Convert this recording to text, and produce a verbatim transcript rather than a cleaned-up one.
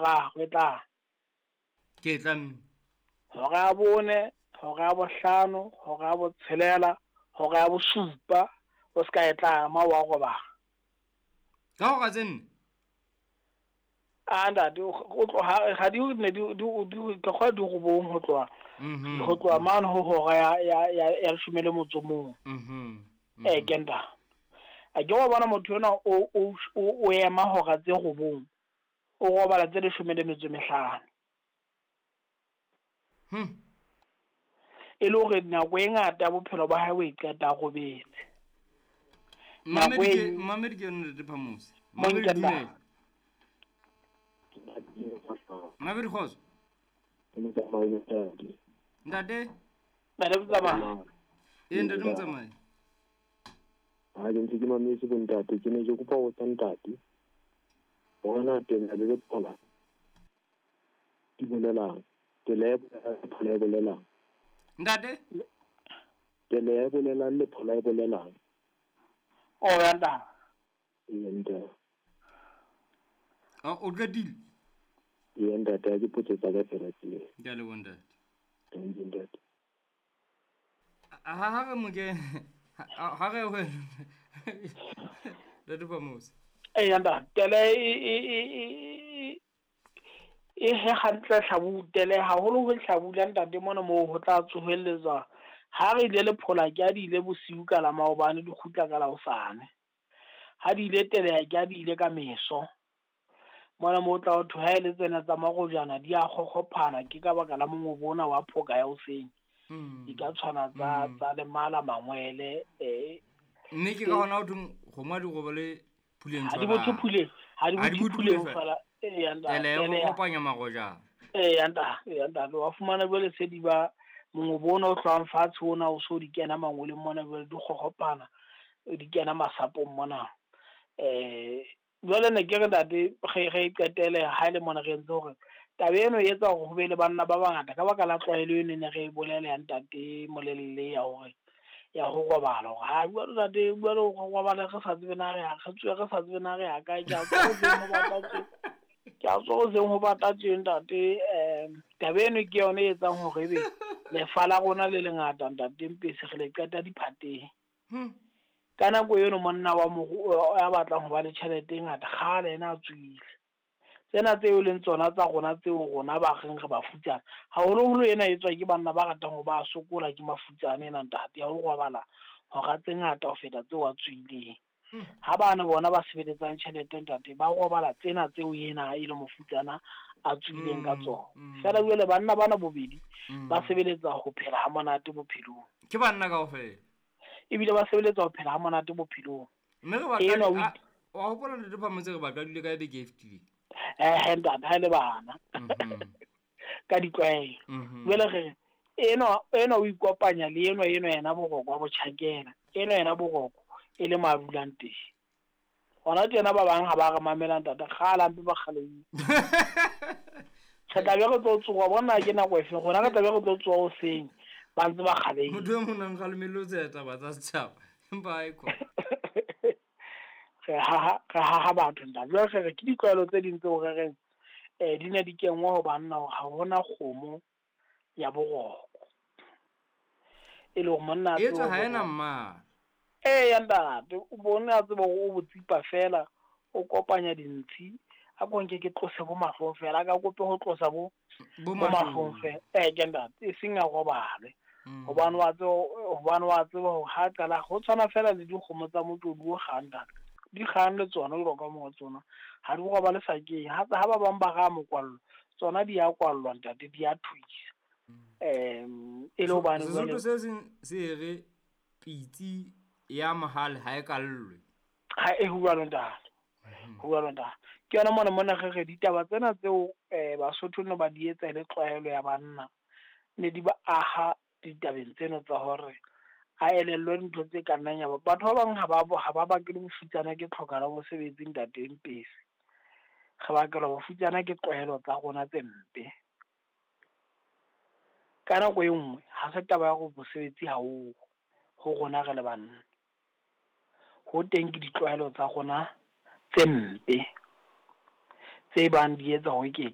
boraro e tla. Ke tla mme. Hora ya bone, hora ya bohlano, hora ya botshelela, hora ya bosupa, o ska e tlama wa robala. Ka hora tse nne? A ntate, o tloha ha di ne di di di ka kgwa di robong ho tloha. Mhm. Ho tloha mane ho hora ya ya ya ya leshome le motso mong. Mhm. Eh ke nta. A ke wa bona motho ona o o o ema hora tse robong. O robala tse leshome le metso mehlano. Hmm. E le hore nako e ngata ya bophelo ba hae o e qeta a robetse. Mamedi ke Mamedi ke yona Ntate Phamose. Mamedi dumela. Mamedi kgotso. Ntate? Ntate Motsamai. Ee, Ntate Motsamai. Ha ke ntse ke mametse bo ntate, ke ne ke kopa ho botsa ntate hore na tela le lephola di bolelang. Tela e bolelang, lephola e bolelang. Ntate? Tela e bolelang, lephola e bolelang. O ya ntate. Ee, ntate. O qetile? Ee, ntate, ha ke potso tsa ka fela tseo. Ke a leboha ntate. Thank you, ntate. Ha ha re moke ha re ho Ntate Phamose. Ee, ntate, tele e e e e he hantle hlabu tele haholo ho hlabula ntate mona moo ho tla tsohelletswa. Ha re ile lephola ke a di ile bosiu ka la maobane di kgutla ka la hosane. Ha di ile tele ke a di ile ka meso. Mona moo tla ho thwe ha e le tsena tsa marojana di a kgokgophana ke ka baka la mongobo ona wa phoka ya hoseng. Di ka tshwana tsa tsa lemala mangwele eh mme ke ka hona ho thweng kgomo ha di robale phuleng Ha di bothe phuleng, ha di bothe phuleng fela. Ee, ntate. Tele e kopanya marojana. Ee, ntate, ee, ntate, wa fumana jwale se di ba mongobo ona o hlwang fatshe ona o so di kena mangweleng mona jwale di kgokgophana, di kena masapong mona. Eh jwale ne ke re ntate re re qetele ha ile mona re entse hore taba eno e etsa hore ho be le banna ba bangata ka baka la tlwaelo eno ne re e bolela ya ntate Molelle ya hore ya ho robala hore ha jwale ntate jwale ho robala re sa tsebe na re ya re tswe re sa tsebe na re ya kae ke a tswa ho batla tse ke a tswa ho ho batla tse ntate. Eh taba eno ke yona e etsang hore ebe lefa la rona le lengata ntate Mpesi re le qeta diphateng. Ka nako eno monna wa moru ya batlang ho ba le tjhelete e ngata kgale ena a tswile. Tsena tseo leng tsona tsa rona tseo rona ba reng re bafutsana haholoholo ena e tswa ke banna ba ratang ho ba sokola ke mafutsana ena ntate ya ho robala hora tse ngata ho feta tseo a tswileng. Ha bana bona ba sebeletsang tjhelete ntate ba robala tsena tseo yena e le mofutsana a tswileng ka tsona. Fela jwale banna bana bobedi ba sebeletsa ho phela ha monate bophelong. Ke banna kaofela. Ebile ba sebeletsa ho phela ha monate bophelong. Mme re batla wa hopola Ntate Phamose re batla dule ka beke e fetileng. Eh ntate ha le bana. Ka ditlwaelo. Jwale re eno eno o ikopanya le eno eno yena boroko wa botjhakela. Eno yena boroko e le madulang teng. Hona tjena ba bang ha ba re mamela ntate kgala mpe ba kgalehile. Re tla be re tlo tsoha bona ke nako efe rona re tla be re tlo tsoha hoseng ba ntse ba kgalehile. Motho e mong a nkgalemellotse taba tsa setjhaba empa ha e khona. Re haha re haha batho ntate. Jwale re ke ditlwaelo tse ding tseo re reng eh di ne di kenngwa ho banna hore ha hona kgomo ya boroko. E le hore monna a tswe ha ena mmala. Ee ya ntate, o bone a tseba hore o botsipa fela, o kopanya dintshi, a ko nke ke tlose bo mahlong fela, a ka kope ho tlosa bo bo mahlong fela. Eh ke ntate, e seng a robale. Hobane wa tseba hobane wa tseba hore ha qala ho tshwana fela le dikgomo tsa motlodi o kgang ntate. Di kgang le tsona jwalo ka mo tsona. Ha di robale sakeng. Ha ha ba bang ba ra mokwallo, tsona di a kwallwa ntate, di a thuisa. Em e le hobane Sesotho se seng se re pitsi ya mohale ha e kallwe. Ha e ho jwalo ntate. Ho jwalo ntate. Ke yona mona mona re re ditaba tsena tseo eh Basotho no ba di etsa le tlwaelo ya banna ne di ba aha ditabeng tseno tsa hore a elellwe dintho tse ka nnang ya ba. Batho ba bang ha ba ha ba bakele bofutsana ke tlhoka la mosebetsi ntate Mpesi. Re bakela bofutsana ke tlwaelo tsa rona tse mpe. Ka nako e nngwe ha se taba ya hore mosebetsi ha o ho rona re le banna. Ho teng ke ditlwaelo tsa rona tse mpe tse bang di etsa hore ke